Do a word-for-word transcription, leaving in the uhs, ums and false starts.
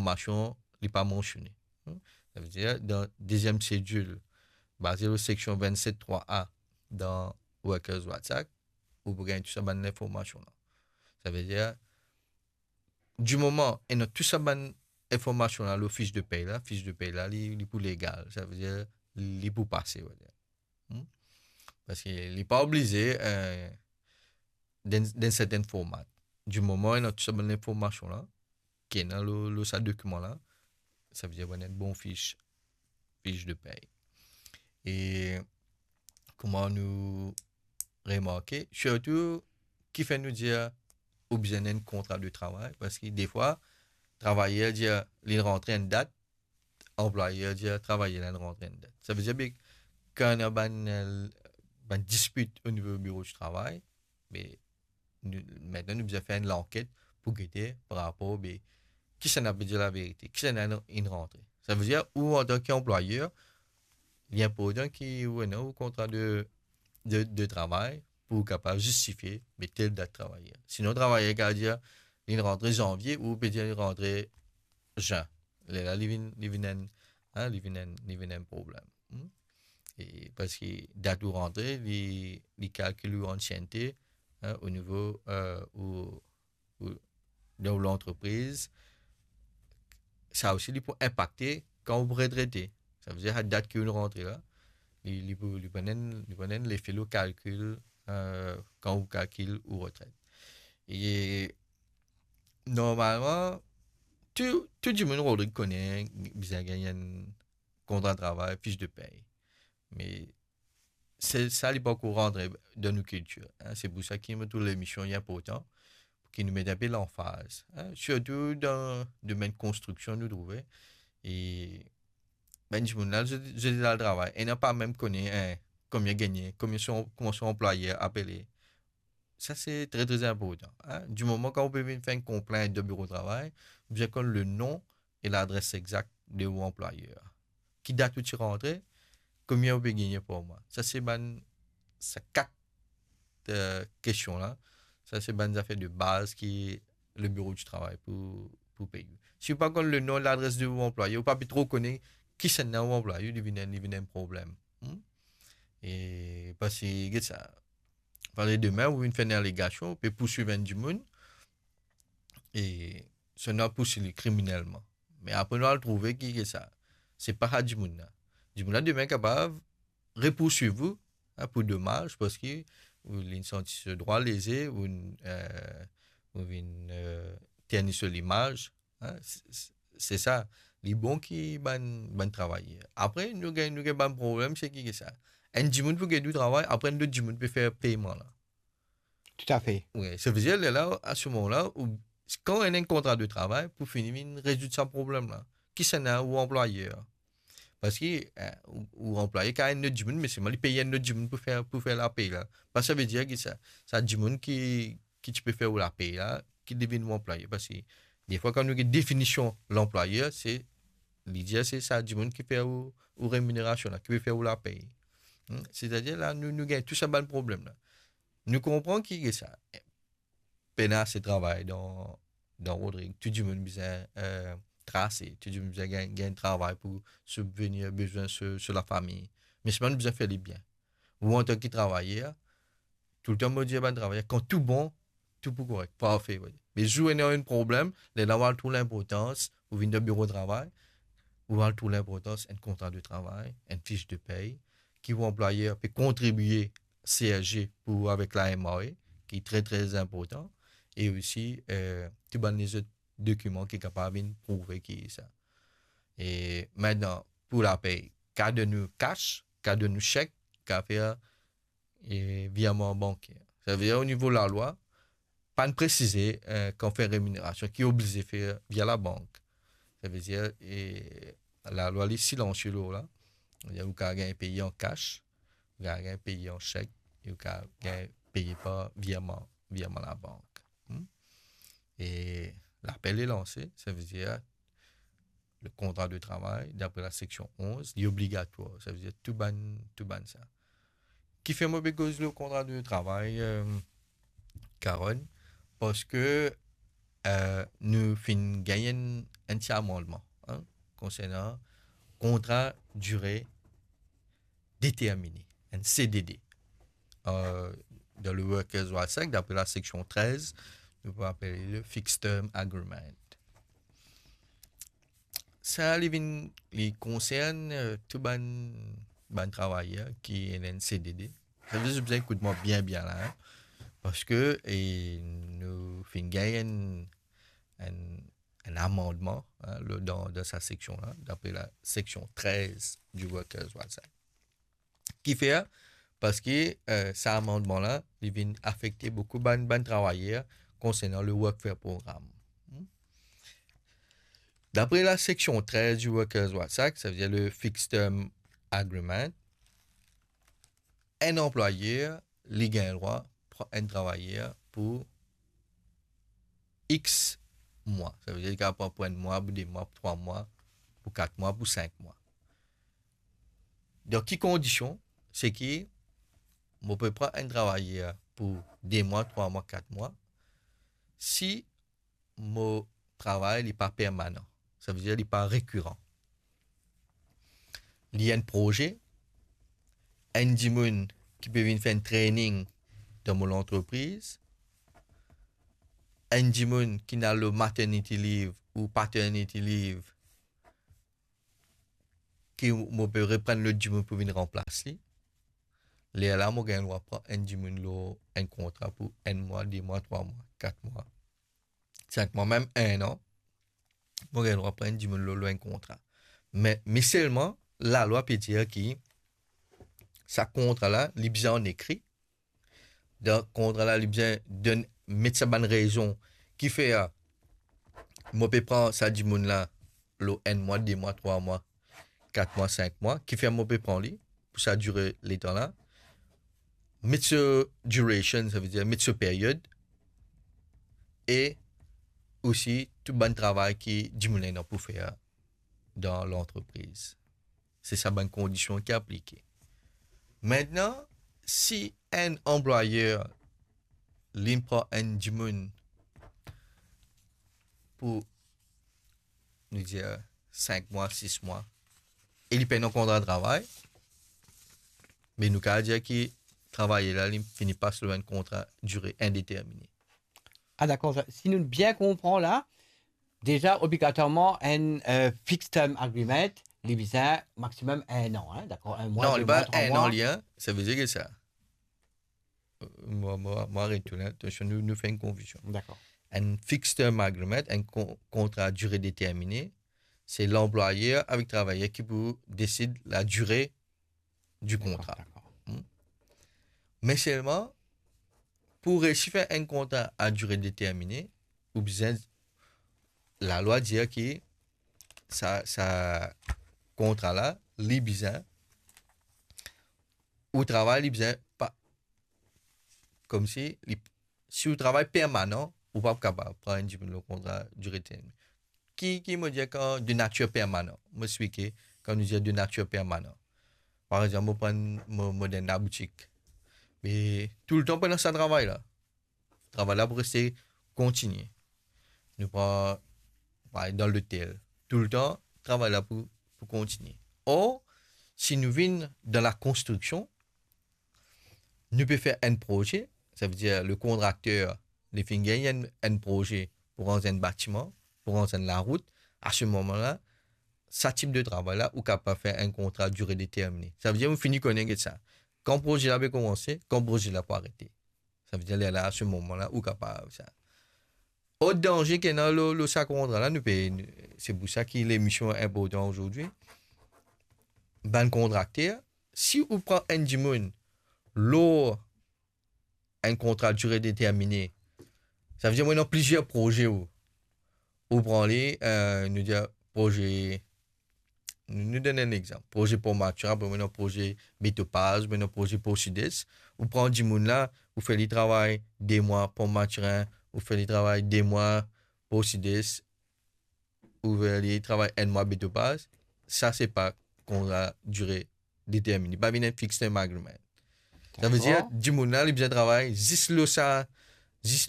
lenformasion li pa mansione. Hmm? Savedir, dan deziem sedil, baze lor seksion vennset trwa A dan Workers Rights Act, ou pou gagn tou sa bann lenformasion la. Savedir, di moman ena tou sa bann lenformasion la lor fis de pey la, fis de pey la, li, li pou legal. Savedir, li pou pase, on va dir. Hmm? Parski li pa oblize, eh, dan, dan serten format. Di moman ena tou sa bann lenformasion la, ki ena lor, lor sa dokiman la, savedir, ou ena enn bon fis, fis de pey. E kouma nou remarke, sirtou, kifer nou dir ou bizin enn kontra de travay, parski defwa, travayer dir li rantre enn dat, anplwayer dir travayer la rantre enn dat. Savedir, be, kan ena bann, eh, bann dispit o nivo biro di travay, be, nou, aster nou bizin fer enn lanket pou gete par rapor, be, kisannla pe dir laverite, kisannla inn rantre. Savedir, ou antan ki anplwayer, li inportan ki ou ena ou kontra de, de, de travay pou kapav zistifie, be, tel dat travayer. Sinon, travayer kapav dir, li rantre zanvie, ou pe dir li rantre zin. Lerla, li vinn, li vinn enn, hein, li vinn enn, li vinn enn problem. Hmm? E parski dat ou rantre, li, li kalkil ou ansiennte, hein, o nivo, eh, ou, ou, dan ou lantrepriz, sa osi, li pou inpakte kan ou pou retrete. Savedir, sa dat ki ou rantre la, li, li pou, li pou ena enn, li pou ena enn lefe lor kalkil, eh, kan ou kalkil ou retret. E normalman, tou, tou dimoun, Rodrigue, kone bizin gagn enn kontra travay, fis de pey. Me se, sa li pankor rantre dan nou kiltir, hein. Se pou sa ki mo trouv lemision li inportan, pou ki nou met enpe lanfaz, hein, sirtou dan domenn konstriksion, nou trouve. E bann dimoun la, zot, zot al travay, ena pa mem kone, hein, konbien gagne, konbien so, kouma so anplwayer apele. Sa se tre, tre inportan, hein. Di moman kan ou pe vinn fer enn konplint dan biro travay, ou bizin konn le nom e ladres exak de ou anplwayer. Ki dat ou ti rantre, konbien ou pe gagne par mwa. Sa se bann, sa kat, eh, kestion la. Sa se bann zafer de baz ki le biro di travay pou, pou pey ou. Si ou pa konn le nom, ladres de ou anplwayer, ou pa pe tro kone kisannla ou anplwayer, li vinn, li vinn enn problem. Hmm? E parski, get sa, fale demin, ou vinn fer enn alegasion, ou pe pourswiv enn dimoun, e sa nou al pourswiv li kriminelman. Me apre nou al trouve ki, ki sa, se pa sa dimoun la. Dimoun la demin kapav repourswiv ou, hein, pou domaz, parski ou, li santi so drwa leze, ou, eh, ou vinn, eh, terni so limaz, hein, se, se, se sa. Li bon ki bann, bann travayer. Apre, nou gagn, nou gagn bann problem, se ki, ki sa. Enn dimoun pou get ou travay, apre enn lot dimoun pe fer peyman la. Toutafe. Wi, savedir, lerla, a se moman la, ou, kan ou ena enn kontra de travay, pou fini vinn rezoud sa problem la. Kisannla ou anplwayer? Parski, eh, ou, ou anplwayer kapav enn lot dimoun, me selman li pey enn lot dimoun pou fer, pou fer lapey la. Pa savedir ki sa, sa dimoun ki, ki ti pe fer ou lapey la, ki devinn ou anplwayer. Parski defwa, kan nou get definision lanplwayer, se, li dir se sa dimoun ki fer ou, ou reminerasion la, ki pe fer ou lapey. Hmm? Setadir la, nou, nou gagn tou sa bann problem la. Nou konpran ki, ki sa. Pena ase travay dan, dan Rodrig. Tou dimoun bizin, eh, trase, tou dimoun bizin gagn, gagn travay pou sibvenir bezwin so, so lafami. Me selman nou bizin fer li bien. Ou antan ki travayer, toultan mo dir bann travayer, kan tou bon, tou pou korek, parfe, wi. Me zour ena enn problem, lerla ou al trouv linportans, ou vinn dan biro travay, ou al trouv linportans enn kontra de travay, enn fis de pey, ki ou anplwayer pe kontribie C S G pou ou avek la M R A, ki tre, tre inportan, e osi, eh, tou bann lezot dokiman ki kapav vinn prouve ki sa. E mintnan, pou lapey, kapav donn ou kas, kapav donn ou sek, kapav fer, eh, virman banker. Savedir, o nivo lalwa, pa'nn presize, eh, kan fer reminerasion, ki oblize fer via labank. Savedir, eh, lalwa li silansie lor la. Savedir, ou kapav gagn peye an kas, ou kapav gagn peye an sek, e ou kapav gagn peye par virman, virman labank. Hmm? E lapel li lanse, savedir, le kontra de travay, dapre la seksion onz, li obligatwar. Savedir tou bann, tou bann sa. Kifer mo pe koz le kontra de travay, eh, Carole? Parski Euh, nou finn gagn enn, enn ti amandman, hein, konsernan kontra dire determine, enn C D D. Euh, dan le Workers' Rights Act, dapre la seksion trez, nou pou apel li le Fixed Term Agreement. Sa, li vinn, li konsern, euh, tou bann, bann travayer ki ena enn C D D. Sa vle dir, bizin ekout mwa bien, bien la, hein. Parski, e, nou finn gagn enn, enn, enn amandman, hein, le, dan, dan sa seksion la, dapre la seksion trez du Workers' Rights Act. Kifer? Parski, euh, sa amandman la, li vinn afekte boukou bann, bann travayer konsernan le Workfare Program. Hmm? Dapre la seksion trez du Workers' Rights Act, sa vle dir le Fixed Term Agreement, enn anplwayer, li gagn drwa pran enn travayer pou X mwa. Sa vle dir li kapav pran pou enn mwa, pou de mwa, pou trwa mwa, pou kat mwa, pou sink mwa. Dan ki kondision? Se ki mo pe pran enn travayer pou de mwa, trwa mwa, kat mwa, si mo travay li pa permanan, sa vle dir li pa rekiran. Li enn proze, enn dimoun ki pe vinn fer enn training dan mo lantrepriz, enn dimoun ki al lor maternity leave ou paternity leave, ki mo pe reprann lot dimoun pou vinn ranplas li, lerla mo gagn drwa pran enn dimoun lor enn kontra pou enn mwa, de mwa, trwa mwa, kat mwa, sink mwa, mem enn an, mo gagn drwa pran enn dimoun lor, lor enn kontra. Me, me selman, lalwa pe dir ki sa kontra la, li bizin an ekri. Dan kontra la, li bizin donn, met sa bann rezon kifer mo pe pran sa dimoun la lor enn mwa, de mwa, trwa mwa, kat mwa, sink mwa, kifer mo pe pran li pou sa dire letan la. Met so duration, sa vle dir met so period, e osi tou bann travay ki dimoun la ena pou fer dan lantrepriz. Se sa bann kondision ki aplike. Aster, si enn anplwayer li pran enn dimoun pou, nou dir, sink mwa, sis mwa, e li pena kontra travay, me nou kapav dir ki travayer la, li fini pas lor enn kontra dire indetermine. Ah, dakor. Si nou bien konpran la, deza, obligatwarman, enn, euh, fixed term agreement, li bizin maximum enn an, hein, dakor? Enn mwa, non, de li mwa, pa trwa enn mwa. An, li, hein. Sa vle dir ki sa. Euh, mwa, mwa, mwa retourn, hein. Atansion, nou, nou fer enn konfizion. Dakor. Enn fixed term agreement, enn kon-, kontra dire determine, se lanplwayer avek travayer ki pou desid la dire di kontra. Dakor, dakor. Hmm. Me selman, pou resi fer enn kontra a dire determine, ou bizin, lalwa dir ki sa, sa kontra la, li bizin, ou travay, li bizin pa, koumsi li, si ou travay permanan, ou pa kapav pran enn dimoun lor kontra dire determine. Ki, ki mo dir kan de natir permanan? Mo explike, kan nou dir de natir permanan. Par exanp, mo pran, mo, mo dan enn laboutik. Me toultan pandan sa travay la, travay la pou reste kontinie. Nou pran, par exanp, dan lotel. Toultan, travay la pou, pou kontinie. Or, si nou vinn dan lakonstriksion, nou pe fer enn proze, sa vle dir le kontrakter, li finn gagn enn, enn proze pou ranz enn batiman, pou ranz enn larout, a se moman la, sa tip de travay la, ou kapav fer enn kontra dire determine. Sa vle dir, ou fini kone get sa. Kan proze la pe koumanse, kan proze la pou arete. Sa vle dir, lerla, a se moman la, ou kapav sa. Lot danze ki ena lor, lor sa kontra la, nou pe, se pou sa ki lemision inportan azordi. Bann kontrakter, si ou pran enn dimoun lor enn kontra dire determine, sa vle dir, mo ena plizier proze ou, ou pran li, euh, nou dir proze, nou, nou donn enn exanp. Proze Port Mathurin, apre mo ena proze Betopaz, mo ena proze Port Sud-Est. Ou pran dimoun la, ou fer li travay de mwa Port Mathurin, ou fer li travay de mwa Port Sud-Est, ou fer li travay enn mwa Betopaz. Sa se pa kontra dire determine. Pa vinn enn fixed term agreement. Sa vle dir, dakor, dimoun la, li bizin travay zis lor sa, zis